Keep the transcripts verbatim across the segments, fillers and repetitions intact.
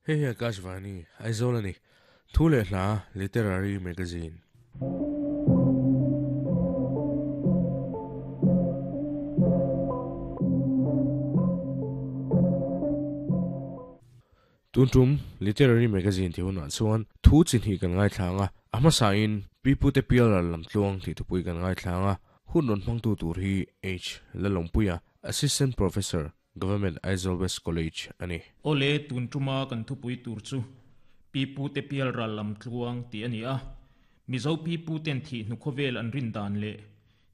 Hei hi Akashvani, Aizawl a ni. Thu leh hla Literary Magazine. Tun tum Literary Magazine tih hunah chuan thu chi hnih kan ngaithlang a, a hmasain Pi Pute Pialral lam tluang tih thupui kan ngaithlang a, hun rawn hmangtu tur hi H. Lalawmpuia, Assistant Professor, Government Aizawl West College a ni. Awle tun tuma kan thupui tur chu Pi Pute Pialral lam tluang tih a ni a, Mizo Pi Puten thih hnu khawvel an rin dan leh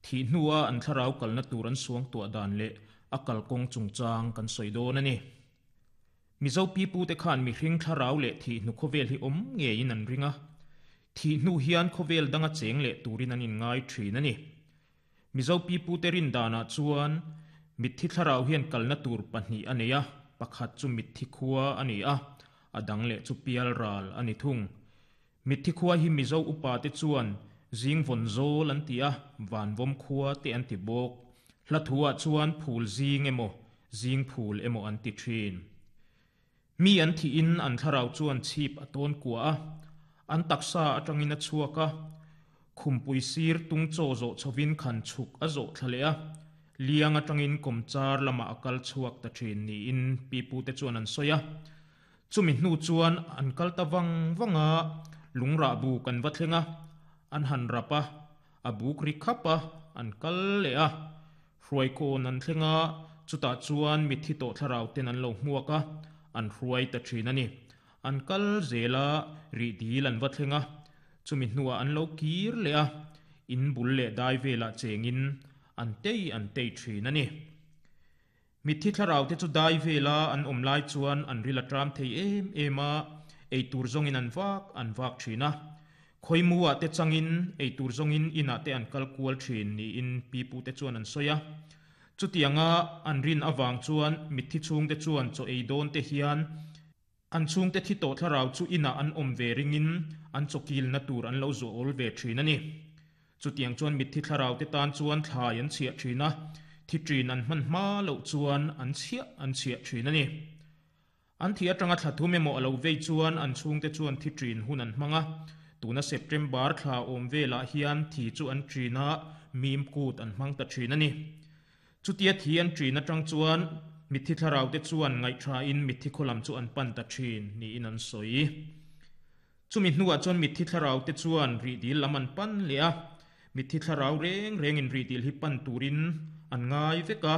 thih hnua an thlarau kalna tur an suang tuah dan leh a kalkawng chungchang kan sawi dawn a ni. Mizo Pi Pute khan mihring thlarau leh thih hnu khawvel hi awm ngeiin an ring a, thih hnu hian khawvel danga cheng leh turin an inngai thin a ni. Mizo Pi Pute rin danah chuan mitthi thlarau hian kalna tur pahnih a nei a, pakhat chu mitthi khua a ni a, a dang leh chu pialral a ni thung. Mitthi khua hi Mizo upa te chuan zing vawn zawl an ti a, van vawm khua te an ti bawk. Hla thuah chuan phul zing emaw, zing phul emaw an ti thin. Mi an thiin an thlarau chuan chhip a tawn kua a, an taksa atangin a chhuak a, khumpui sir tung chaw zawh chhovin khan chhuk a zawh thla leh a, liang atangin kawmchar lamah a kal chhuak ta thin niin Pi Pute chuan an sawi a. Chumi hnu chuan an kal ta vang vang a, lungrah bu kan va thleng a, an han rap a, a buk ri khap a, an kal leh a. Hruai kawn an thleng a, chutah chuan mitthi tawh thlarau ten an lo hmuak a, an hruai ta thin a ni. An kal zel a, rih dil an va thleng a, chumi hnuah an lo kir leh a, in bul leh dai velah chengin an tei an tei thin a ni. Mitthi thlarau te chu dai vela an awm lai chuan an ril a tram thei em em a, ei tur zawngin an vak an vak thin a. Khawimuah te changin ei tur zawngin inah te an kal kual thin niin Pi Pute chuan an sawi a. Chutianga an rin avang chuan mitthi chhungte chuan chaw ei dawn te hian an chhungte thi tawh thlarau chu inah an awm ve ringin an chaw kilna tur an lo zuah awl ve thin a ni. Chutiang chuan mitthi thlarau te tan chuan thlai an chhiah thin a, thi thin an hman hma loh chuan an chhiah an chhiah thin a ni. An thi atanga thla thum emaw a lo vei chuan an chhungte chuan thi thin hun an hmang a, tuna September thla awm velah hian thi chu an thin a, mim kut an hmang ta thin a ni. Chutia thi an thin atang chuan mitthi thlarau te chuan ngaihthain mitthi khawlam chu an pan ta thin niin an sawi. Chumi hnuah chuan mitthi thlarau te chuan rih dil lam an pan leh a, mitthi thlarau reng rengin rih dil hi pan turin an ngai vek a,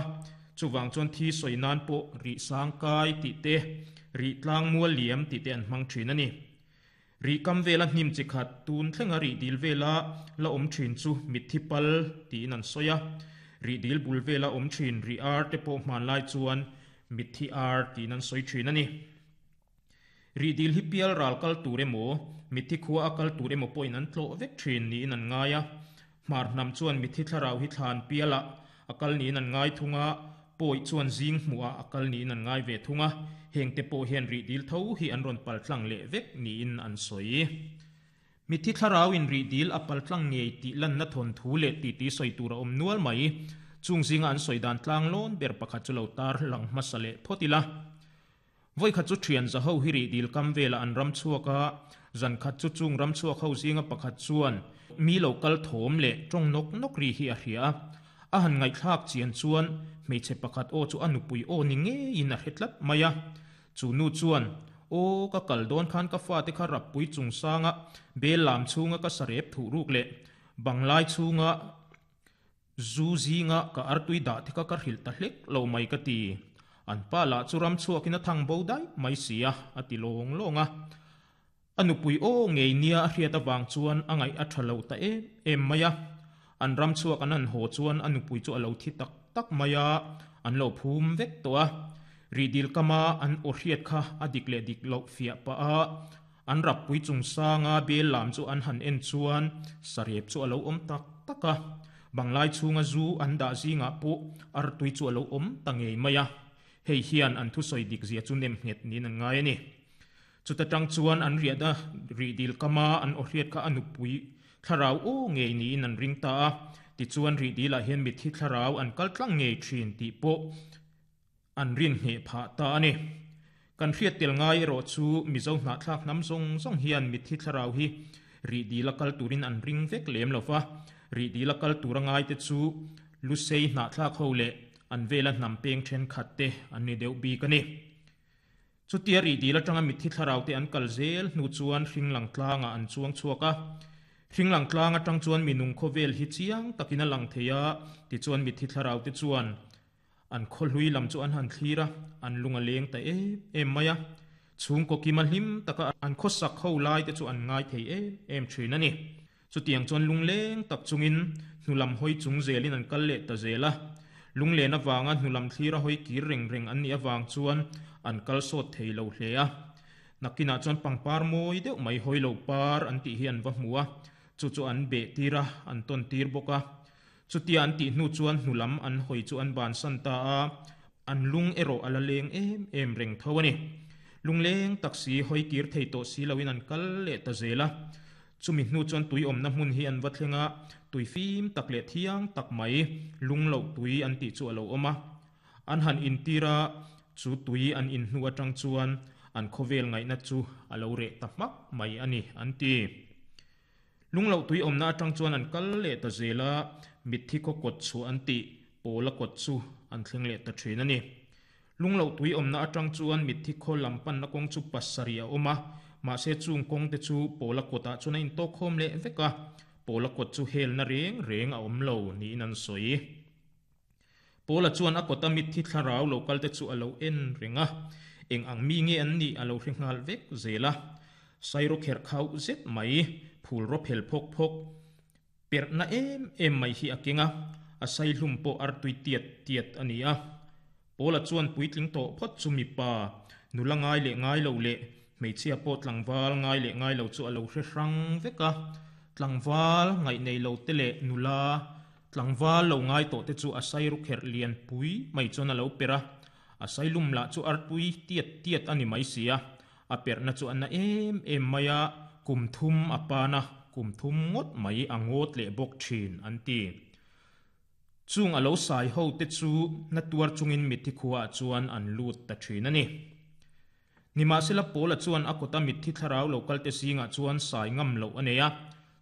chuwang chuan thi sawi nan pawh rih sang kai tih te, rih tlang mual liam tih te an hmang thin a ni. Rih kam vela hnim chi khat tun thlenga rih dil vela la awm thin chu mitthi pal tiin an sawi a, rih dil bul vela awm thin rih ar te pawh hman lai chuan mitthi ar tiin an sawi thin a ni. Rih dil hi pial ral kal tur emaw, mitthi khua a kal tur emaw pawhin an tlawh vek thin niin an ngai a. Hmar hnam chuan mitthi thlarau hi thlan pialah a kal niin an ngai thung a, pawi chuan zing hmuah a kal niin an ngai ve thung a, heng te pawh hian rih dil tho hi an rawn pal tlang leh vek niin an sawi. Mitthi thlarau in rih dil a pal tlang ngei tih lanna thawn thu leh ti ti sawi tur a awm nual mai, chung zinga an sawi dan tlang lawn ber pakhat chu lo tar lang hmasa leh phawt ila. Voi khat chu thian za ho hi rih dil kam vela an ram chhuak a, zan khat chu chung ram chhuak ho zinga pakhat chuan mi lo kal thawm leh tawng nawk nawk ri hi a hria a. A han ngaihthlak chian chuan hmeichhe pakhat aw chu a nupui aw ni ngeiin a hre tlat mai a. Chu nu chuan aw ka kal dawn khan ka fa te kha rappui chung sanga bel lam chhunga ka sarep thuh ruk leh banglai chhunga zu zinga ka artui dah te kha ka hrilh ta hlek lo mai ka ti. An pa lah chu ram chhuakin a thang bo dai mai si a, a ti lawng lawng a. A nupui aw ngei nia a hriat awang chuan a ngaih a tha lo ta em em mai a. An ram chhuak an han haw chuan a nupui chu a lo thi tak tak mai a, an lo phum vek tawh a. Rih dil kama an aw hriat kha a dik leh dik loh fiah pah a, an rappui chung sanga bel lam chu an han en chuan sarep chu a lo awm tak tak a. Banglai chhunga zu an dah zingah pawh artui chu a lo awm ta ngei mai a. Hei hian an thu sawi dik zia chu nem nghet niin an ngai a ni. Chuta tang chuan an riah da rih dil kama an aw hriat kha a nupui thlarau aw ngei niin an ring ta a. Tichuan rih dilah hian mitthi thlarau an kal tlang ngei thin tih pawh an rin ngheh phah ta a ni. Kan hriat tel ngai ro chu Mizo hna thlak nam zong zong hian mithi thlarau hi ri dila kal turin an ring vek lem lova ri dila kal tura ngai te chu lusei hna thlak ho le an vela hnam peng then khat te an ni deuh bi ka ni. Chutia ri dila tanga mithi thlarau te an kal zel hnu chuan hringlang tlanga an chuang chuaka hringlang tlanga tang chuan minung khovel hi chiang takina lang theia ti chuan mithi thlarau te chuan an kholhui lam chu an han thlira an lunga leng ta em em maya chung ko kima hlim taka an khosak ho lai te chu an ngai thei em em thin ani. Chutiang chuan lungleng tak chungin hnulam hoi chung zelin an kal le ta zela lunglen awanga hnulam thlira hoi kir reng reng an ni awang chuan an kal sawt thei lo hle a. Nakina chuan pangpar mawi deuh mai hoi lo par an tih hi an va hmu a chu chu an be tira an ton tir bawk a. Chutia an tih hnu chuan hnulam an hoi chu an ban san ta a an lung ero ala leng em em reng tho ani. Lungleng taksi hoi kir thei to si loin an kal le ta zela. Chumi hnu chuan tui awmna hmun hi an va thlenga tui fim tak leh thiang tak mai lung lo tui an tih chu alo awm a. An han intira chu tui an in hnu atang chuan an khawvel ngaihna chu alo reh ta hmak mai ani an ti. Lung lo tui awmna atang chuan an kal leh ta zela mithi khaw kawt chu an ti pawla kawt chu an thleng leh ta thin ani. Lung lo tui awmna atang chuan mithi khaw lam panna kawng chu pasarih a awm a mahse chung kawng te chu pawla kawtah chuan a intawk khawm leh vek a pawla kawt chu helna reng reng a awm lo niin an sawi. Pawla chuan a kawta mithi thlarau lo kal te chu alo en reng a eng ang mi nge an ni alo hre nghal vek zela sairo kher khau zet mai phul ro phel phok phok perna em em mai hi a kenga a sai hlum pawh ar tui tiat tiat ani a. Pawla chuan puitling tawh phawt chu mipa nula ngai leh ngai lo leh hmeichhia pawh tlangval ngai leh ngai lo chu alo hre hrang vek a. Tlangval ngaih nei lo te leh nula tlangval lo ngai tawh te chu a sai ru kher lian pui mai chuan alo per a a sai lum lah chu ar tui tiat tiat ani mai si a a perna chu an na em em mai a kum thum a pana kum thum ngawt mai a ngawt leh bawk thin an ti. Chung alo sai ho te chu na tuar chungin mithi khuwa chuan an lut ta thin ani. Nimahsela pawla chuan a kawta mithi thlarau lo kal te zingah chuan sai ngam lo a nei a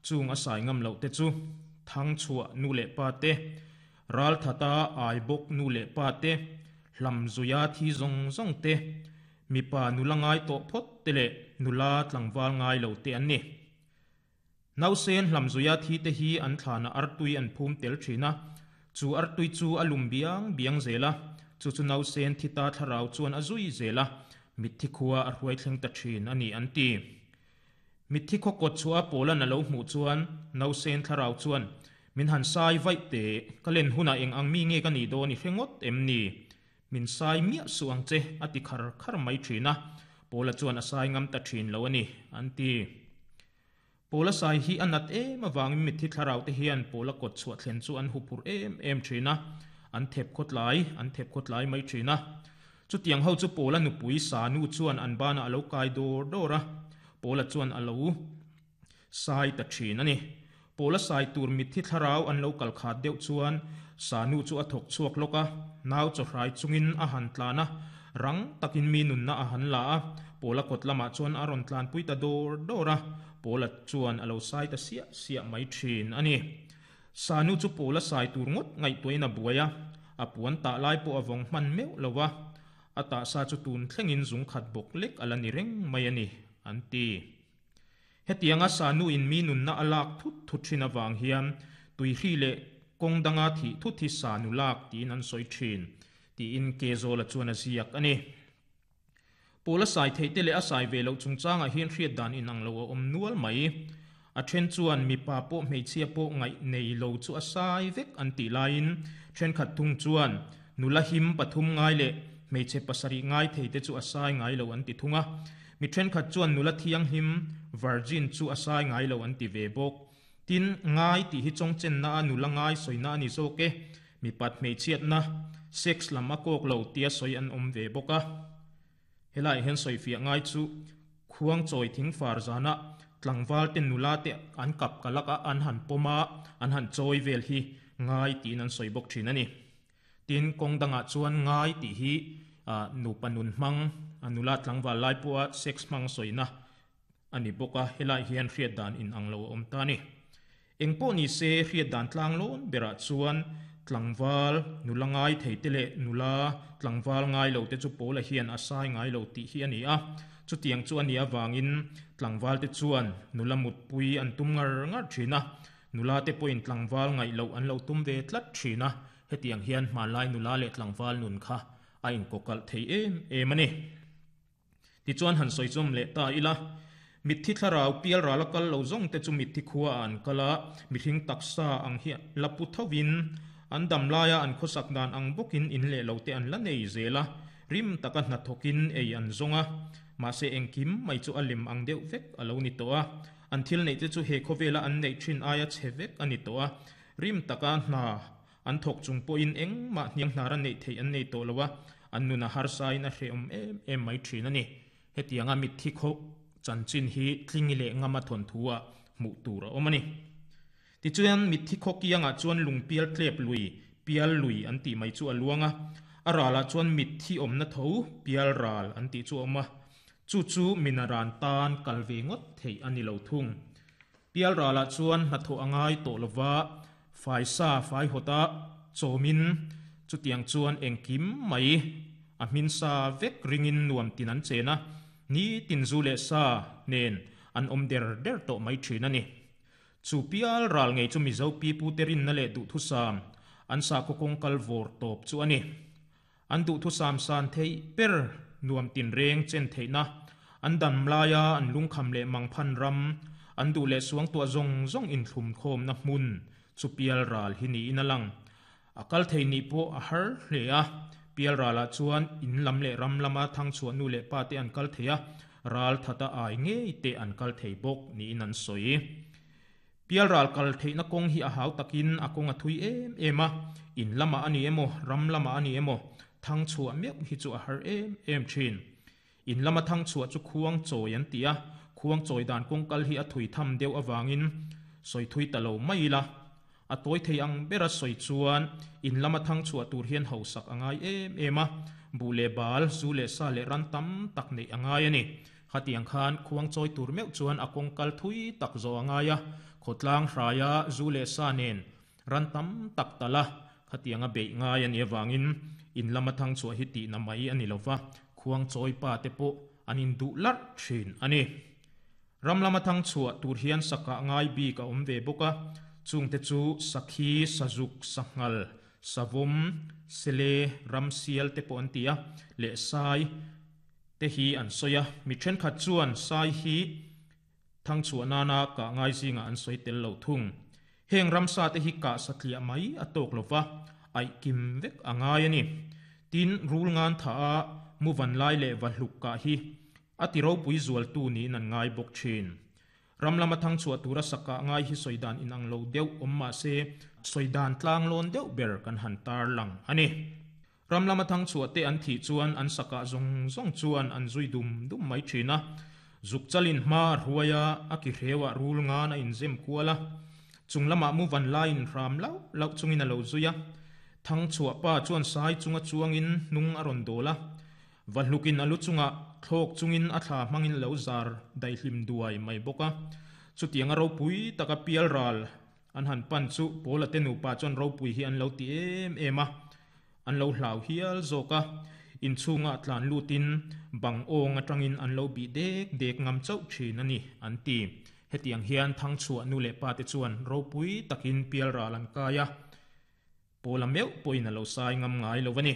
chung a sai ngam lo te chu thang chhuah nu leh pa te ral thata ai bawk nu leh pa te hlam zuia thi zawng zawng te mipa nula ngai tawh phawt te leh nula tlangval ngai lo te an ni. Nausen hlam zuia thi te hi an thlana artui an phum tel thin a chu artui chu a lum biang biang zela chu chu nausen thi ta thlarau chuan a zui zela mithi khuwa a hruai thleng ta thin ani an ti. Mithi khaw kawt chu a pawlan alo hmuh chuan nausen thlarau chuan min han sai vaih te ka len huna eng ang mi nge ka ni dawn i hre ngawt em ni min sai miah su ang che a ti khar khar mai thin a pawla chuan a sai ngam ta thin lo ani an ti. Pawla sai hi a nat em awangin mithi thlarau te hian pawla kawt chhuah thlen chu an hupur em em thin a an thep khawt lai an thep khawt lai mai thin a. Chutiang ho chu pawla nupui sa nu chuan an bana alo kai dawr dawr a pawla chuan alo sai ta thin ani. Pawla sai tur mithi thlarau an lo kal khat deuh chuan sa nu chu a thawk chhuak lawk a nau chaw hrai chungin a han tlan a rang takin mi nunna a han la a pawla kawt lamah chuan a rawn tlan pui ta dawr dawr a pawla chuan alo sai ta siah siah mai thin ani. Sa nu chu pawla sai tur ngawt ngaihtuahin a buai a a puan tah lai pawh a vawng hman meuh lo a a tah sa chu tun thlengin zung khat bawk lek ala ni reng mai ani an ti. Hetianga sa nu in mi nunna a lak thut thut thin awang hian tui hri leh kawng danga thi thut hi sa nu lak tiin an sawi thin tiin ke zawla chuan a ziak ani. Pawla sai thei te leh a sai ve loh chungchangah hian hriat dan inang lo a awm nual mai. A then chuan mipa pawh hmeichhia pawh ngaih nei lo chu a sai vek an tih laiin thenkhat thung chuan nula him pathum ngai leh hmeichhe pasarih ngai thei te chu a sai ngai lo an ti thung a. Mi thenkhat chuan nula thiang him virgin chu a sai ngai lo an ti ve bawk. Tin ngai tih hi chawng chenna a nula ngai sawina ani zawk e mipat hmeichhiatna sex lam a kawk lo tia sawi an awm ve bawk a. Helai hian sawi fiah ngai chu khuang chawi thing far zana tlangval te nula te an kap kalak a an han pawm a an han chawi vel hi ngai tiin an sawi bawk thin ani. Tin kawng dangah chuan ngai tih hi nupa nun hmang Anula tlangwal lai pawha sex hmang sawina ani bawk a, helai hian hriat dan in ang lo a awm ta a ni. Engpawh ni se hriat dan tlang lawn berah chuan tlangval nula ngai thei te leh nula tlangval ngai lo te chu Pawla hian a sai ngai lo tih hi a ni a. Chutiang chu a nih avangin tlangval te chuan nula mutpui an tum ngar ngar thin a, nula te pawhin tlangval ngaih loh an lo tum ve tlat thin a, hetiang hian hmanlai nula leh tlangval nun kha a inkawkalh thei em em a ni. Tichuan han sawi chawm leh ta ila, mitthi thlarau pial ral a kal lo zawng te chu mitthi khua ah an kal a, mihring taksa ang hi la pu thovin an dam laia an khawsak dan ang bawkin in leh lo te an la nei zel a, rim taka hnathawkin ei an zawng a, mahse engkim mai chu a lem ang deuh vek a lo ni tawh a, an thil neih te chu he khawvela an neih thin aia chhe vek a ni tawh a, rim taka hna an thawk chung pawhin engmah hniang hnar a neih theih an nei tawh lo a, an nun a harsain a hrehawm em em mai thin a ni. Hetianga mitthi khaw chanchin hi tlingi leh ngama thawnthu-ah hmuh tur a awm a ni. Tichuan, mitthi khaw kiangah chuan lungpial tlep lui, pial lui an tih mai chu a luang a, a ralah chuan mitthi awmna tho, pial ral an tih chu a awm a, chu chu minaran tan kal ve ngawt theih a ni lo thung. Pial ralah chuan hnathawh a ngai tawh lova, faisa faihawta chawmin chutiang chuan engkim mai a hmin sa vek ringin nuam tin an chen a, ni tin zu leh sa nen an awm der der tawh mai thin a ni. Chu pial ral ngei chu Mizo pipute rinna leh duhthusam an sakhaw kawng kal vawr tawp chu a ni. An duhthusam san theih ber nuam tinreng chen theihna, an dam laia an lungkham leh mangphan ram, an duh leh suangtuah zawng zawng inthlumkhawmna hmun chu pial ral hi niin a lang. A kal thei nih pawh a har hle a, pial ralah chuan in lam leh ram lama thangchhuah nu leh pa te an kal thei a, ral thata ai ngei te an kal thei bawk niin an sawi. Pial ral kal theihna kawng hi a hau takin a kawng a thui em em a, in lamah a ni emaw, ram lamah a ni emaw, thangchhuah meuh hi chu a har em em thin. In lama thangchhuah chu khuang chawi an ti a, khuang chawi dan kawng kal hi a thui tham deuh avangin sawi thui ta lo mai ila. A tawi thei ang bera sawi chuan in lama thangchhuah tur hian hausak a ngai em em a, buh leh bal, zu leh sa leh ran tam tak neih a ngai a ni. Khatiang khan khuang chawi tur meuh chuan a kawng kal thui tak zawh a ngai a, khawtlang hraia zu leh sa nen ran tam tak tal a, khatiang a beih ngai a nih avangin in lama thangchhuah hi tihna mai a ni lo va, khuang chawi pa te pawh an induh larh thin a ni. Ram lama thangchhuah tur hian sakah ngai bik a awm ve bawk a, chungte chu sakhi, sazuk, sanghal, savawm, sele, ramsial te pawh an ti a, leh sai te hi an sawi a, mi thenkhat chuan sai hi thangchhuah nana kah ngai zingah an sawi tel lo thung. Heng ramsa te hi kah satliah mai a tawk lo va, aih kim vek a ngai a ni. Tin, rul ngan tha a muvan lai leh va hluk kah hi a ti ropui zualtu niin an ngai bawk thin. Ram lama thangchhuah tura sakah ngai hi sawi dan inang lo deuh awm mah se, sawi dan tlang lawn deuh ber kan han tar lang a ni. Ram lama thangchhuah te an thih chuan an sakah zawng zawng chuan an zui dum dum mai thin a. Zuk chalin hma a hruai a, a ki hreuah rul ngan a inzem kual a. Chung lamah muvan laiin hram lauh lauh chungin a lo zui a. Thangchhuah pa chuan sai chunga chuangin hnung a rawn dawl a. Va hlukin a lu chungah thlawk chungin a thla hmangin a lo zar daihlim duai mai bawk a. Chutianga ropui taka pial ral an han pan chu Pawla te nupa chuan ropui hi an lo ti em em a, an lo hlau hial zawk a. Inchhungah tlan lutin bang awng atangin an lo bih dek dek ngam chauh thin a ni, an ti. Hetiang hian thangchhuah nu leh pa te chuan ropui takin pial ral an kai a, Pawla meuh pawhin a lo sai ngam ngai lo a ni.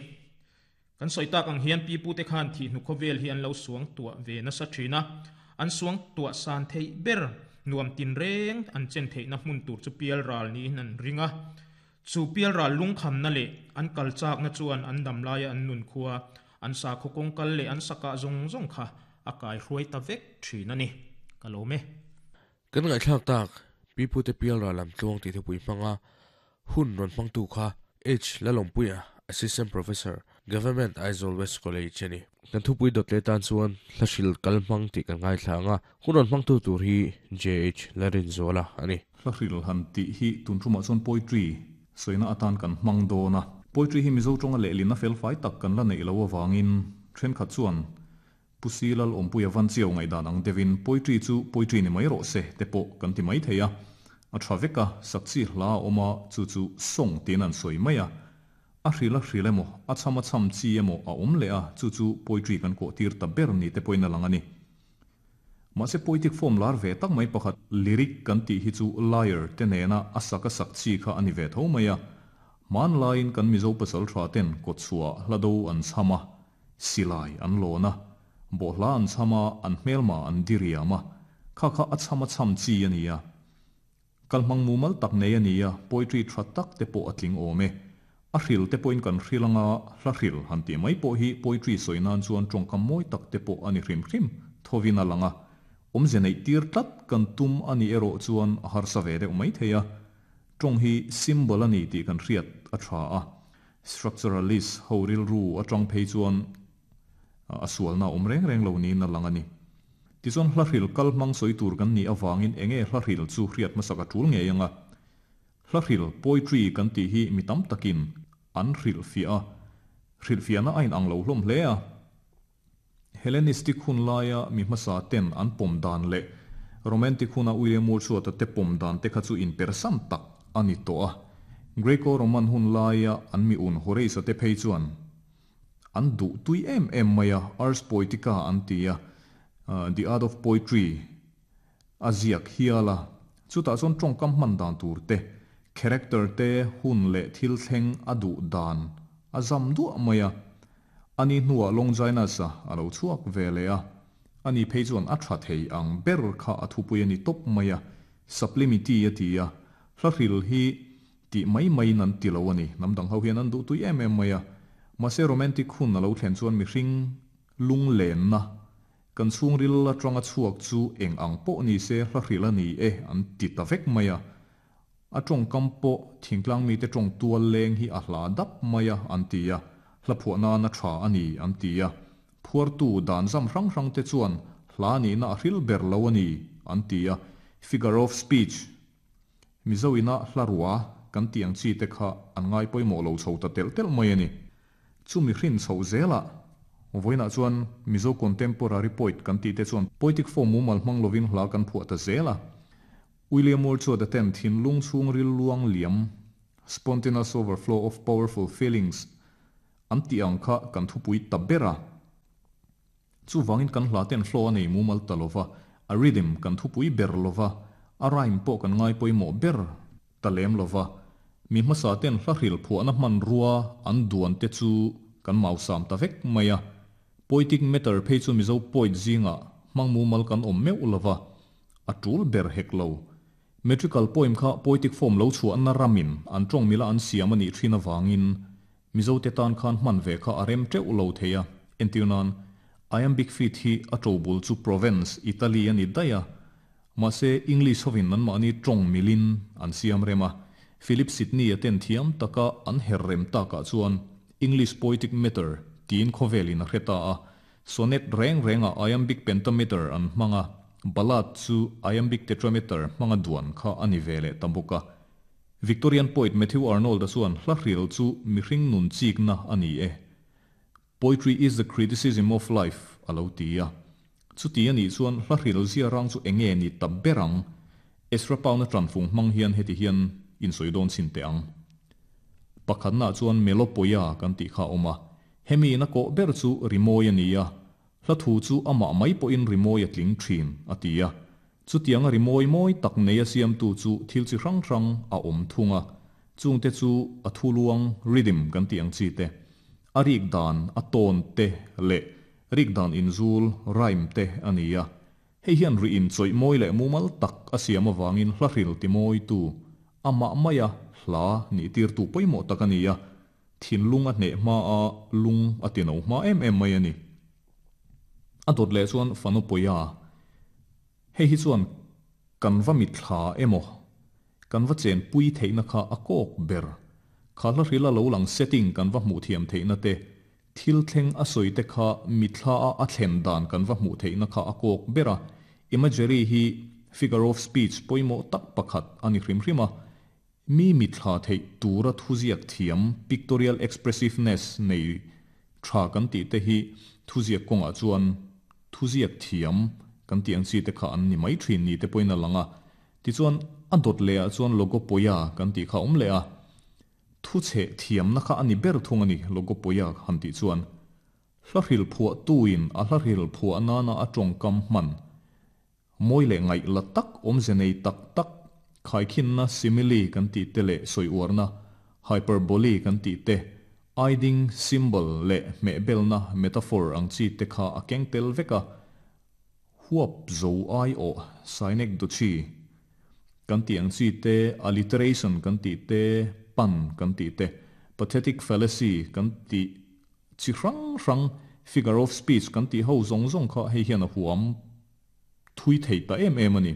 Kan sawi tak ang hian pipute khan thihnu khawvel hi an lo suang tuah ve nasa thin a, an suang tuah san theih ber nuam tinreng an chen theihna hmun tur chu pial ral niin an ring a. Chu pial ral lungkhamna leh an kal chakna chuan an dam laia an nun khua, an sakhaw kawng kal leh an sakah zawng zawng kha a kai hruai ta vek thin a ni. Ka lawm e. Kan ngaihthlak tak, pipute pial ral lam tluang tih thupui hmanga hun rawn hmangtu kha H. Lalawmpuia, Assistant Professor, Government Aizawl West College a ni. Kan thupui dawt leh tan chuan hlahril kal hmang tih kan ngaithla ang a, hun rawn hmangtu tur hi J H. Larinzuala a ni. Hlahril han tih hi tun tumah chuan poetry sawina atan kan hmang dawn a. Poetry hi Mizo tawnga lehlin a felfai tak kan la neih loh avangin thenkhat chuan Pusilal ompuia van chiaw ngai dan ang devin poetry chu poetry ni mai ro se te pawh kan ti mai theia a thaveka sakchi hla oma chu chu song tin an soi maia a hrila hril emo a chama cham chi emo a om le a chu chu poetry kan ko tir ta ber ni te poina langani ma se poetic form lar ve tak mai pakhat lyric kan ti hi chu liar te nena asaka sak chi kha ani ve tho maia man lain kan mizo pasal tha ten ko chua hlado an chama silai an lona bo hla an chama an hmelma an diriama kha kha a chama cham chi ania kalmang mumal tak nei ania poetry tha tak te po atling ome a hril te point kan hrilanga hla hril han ti mai po hi poetry soinan chuan tongkam moi tak te po ani hrim hrim thovina langa omze nei tir tlat kan tum ani ero chuan har sa ve deuh mai theia tong hi symbol ani ti kan hriat a tha a structuralist horil ru atang phei chuan a sualna om reng reng lo ni na langani ti chuan hla hril kal mang soi tur kan ni awangin enge hla hril chu hriat masaka tul nge anga hla hril poetry kan ti hi mitam takin an hril fia hril fia na ain ang lo hlom hle a Hellenistic hun laia mi hmasa ten an pom dan le romantic huna William Wordsworth te pom dan te kha chu in persam tak ani to a Greco Roman hun laia an mi un Horace te phei chuan an du tui em em maya ars poetica an tia the art of poetry aziak hiala chuta chon tongkam man dan tur te character te hun le thil thleng adu dan azam du maya ani nuwa longjaina sa alo chuak velea ani phei chuan a tha thei ang ber kha athupui ani top maya sublimity atia hlahril hi ti mai mai nan ti lo ani namdang ho hian an du tui em em maya mase romantic hun alo thlen chuan mi hring lung len na kan chung ril la tanga chuak chu eng ang po ni se hlahril ani e an ti ta vek maya a tong kampo thingtlang mi te tong tual leng hi a hla dap maya an tia hla na na tha ani an tia phuar tu dan zam rang rang te chuan hla ni na hril ber lo ani an tia figure of speech mizoina hlarua kan tiang chi te kha an ngai poimo lo chho ta tel tel mai ani chumi hrin chho zela voina chuan mizo contemporary poet kan ti te chuan poetic form mumal hmang lovin hla kan phuah ta zela William Wordsworth ten thin lung chung ril luang liam spontaneous overflow of powerful feelings an ti ang kha kan thupui tabera chu wangin kan hla ten flow nei mumal talova a rhythm kan thupui ber lova a rhyme po kan ngai poimo ber talem lova mi hmasa ten hla hril phuah na hman rua an duan te chu kan mausam ta vek maya poetic meter phei chu mizo poet zinga hmang mumal kan om meu lova a tul ber hek lo metrical poem kha poetic form lo chu an na ramin an tong mila an siam ani thina wangin mizo te tan khan hman ve kha arem teuh lo theia entiunan iambic feet hi a tobul chu Provence Italy ani daya ma se English hovin nan ma ani tong milin an siam rema Philip Sidney aten thiam taka an herrem taka chuan English poetic meter tin khovelin a hreta a sonnet reng renga iambic pentameter an hmanga ballad chu iambic tetrameter hmanga duan kha ani vele tambuka Victorian poet Matthew Arnold chuan hla hril chu mihring nun chik na ani e poetry is the criticism of life alo tia chu ti ani chuan hla hril zia rang chu enge ni tabberang Ezra Pound tran fung hmang hian heti hian in soidon chin te ang pakhat na chuan melopoia kan ti kha oma hemi na ko ber chu rimoi ania hla thu chu ama mai po in rimoi atling thin atia chu tiang rimoi moi tak nei a siam tu chu thil chi rang rang a om thunga chung te chu a thuluang rhythm kan ti ang chi te a rik dan a ton te le rik dan in zul rhyme te ania hei hian ri in choi moi le mumal tak a siam awangin hla hril ti moi tu ama maya hla ni tir tu poimo takania thin lung a hne ma a lung a tino ma em em mai ani a dot le chuan fanopoia hei hi chuan kan va mi thla emo kan va chen pui theina kha a kok ber khala hrila lo lang setting kan va hmu thiam theina te thil thleng a soi te kha mi thla a a thlen dan kan va hmu theina kha a kok bera imagery hi figure of speech poimo tak pakhat ani hrim hrima mi mi thla thei tura thuziak thiam pictorial expressiveness nei tha kan ti te hi thuziak konga chuan Thuziak thiam kan ti ang chi te kha an ni mai thin ni te pawhin a lang a. Tichuan a dawt lehah chuan logopoia kan tih kha a awm leh a. Thu chheh thiamna kha a ni ber thung a ni logopoia han tih chuan. Hla hril phuahtuin a hla hril phuah nana a tawngkam hman mawi leh ngaih la tak awmze nei tak tak khaikhinna simile kan tih te leh sawi uarna hyperbole kan tih te aiding symbol leh hmehbelna metaphor ang chi te kha a keng tel vek a. Huap zo ai awh synecdoche kan tih ang chi te alliteration kan tih te pun kan tih te pathetic fallacy kan tih chi hrang hrang figure of speech kan tih ho zawng zawng kha hei hian a huam thui thei ta em em a ni.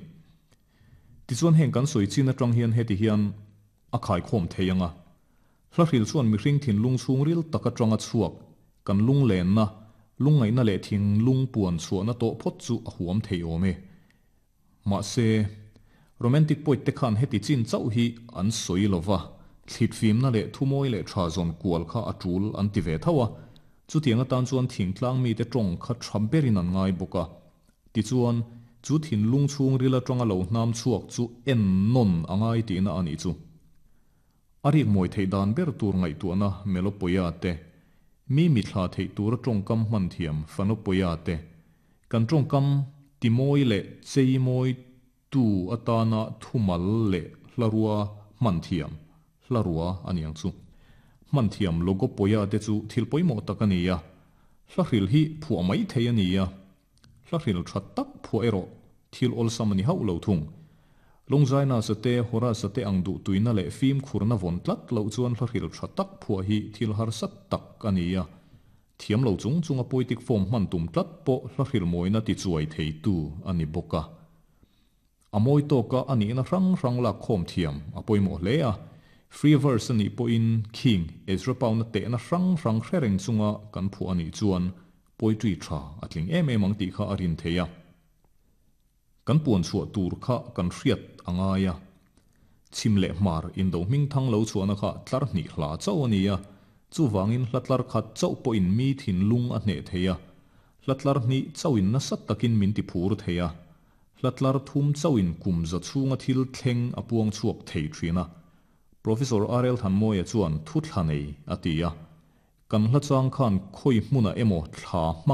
Tichuan heng kan sawi chin atang hian heti hian a khaikhawm thei anga. Hla hril chuan mihring thinlung chhungril tak atanga chhuak kan lung lenna lungngaihna leh thinlung puan chhuahna tawh phawt chu a huam thei awm e. Mahse romantic poet te khan heti chin chauh hi an sawi lova thlit fimna leh thumawi leh tha zawn kual kha a tul an ti ve tho a. Chutiang atan chuan thingtlang mi te tawng kha tha berin an ngai bawk a. Tichuan chu thinlung chhungril atanga lo hnam chhuak chu en nawn a ngai tihna a nih chu. A rik mawi theih dan ber tur ngaihtuahna melopoia te mi mithla theih tura tawngkam hman thiam phanopoia te kan tawngkam timawi leh cheimawi tu atana thumal leh hlarua hman thiam hlarua a ni ang chu. Hman thiam logopoia te chu thil pawimawh tak a ni a. Hla hril hi phuah mai thei a ni a. Hla hril tha tak phuah erawh thil awlsam a ni hauh lo thung. Longzaina sate hora sate ang duh tuina leh fim khurna vawn tlat loh chuan hla hril tha tak phuah hi thil harsa tak a ni a. Thiam lo chung chunga poetic form hman tum tlat pawh hla hril mawina ti chuai thei tu a ni bawk a. A mawi tawka a nihna hrang hrang lak khawm thiam a pawimawh hle a. Free verse a nih pawhin king Ezra Pound a tehna hrang hrang hre reng chunga kan phuah a nih chuan poetry tha a tling em em ang tih kha a rin thei a. Kan puan chhuah tur kha kan hriat a ngai a. Chhim leh hmar indo hming thang lo chhuahna kha tlar hnih hla chauh a ni a. Chuwangin hla tlar khat chauh pawhin mi thinlung a hneh thei a. Hla tlar hnih chauhin nasa takin min ti phur thei a. Hla tlar thum chauhin kum za chhunga thil thleng a puang chhuak thei thin a. Professor R L Thanmawia chuan thu thla nei a ti a. Kan hla chang khan khawi hmuna emaw thla hmangin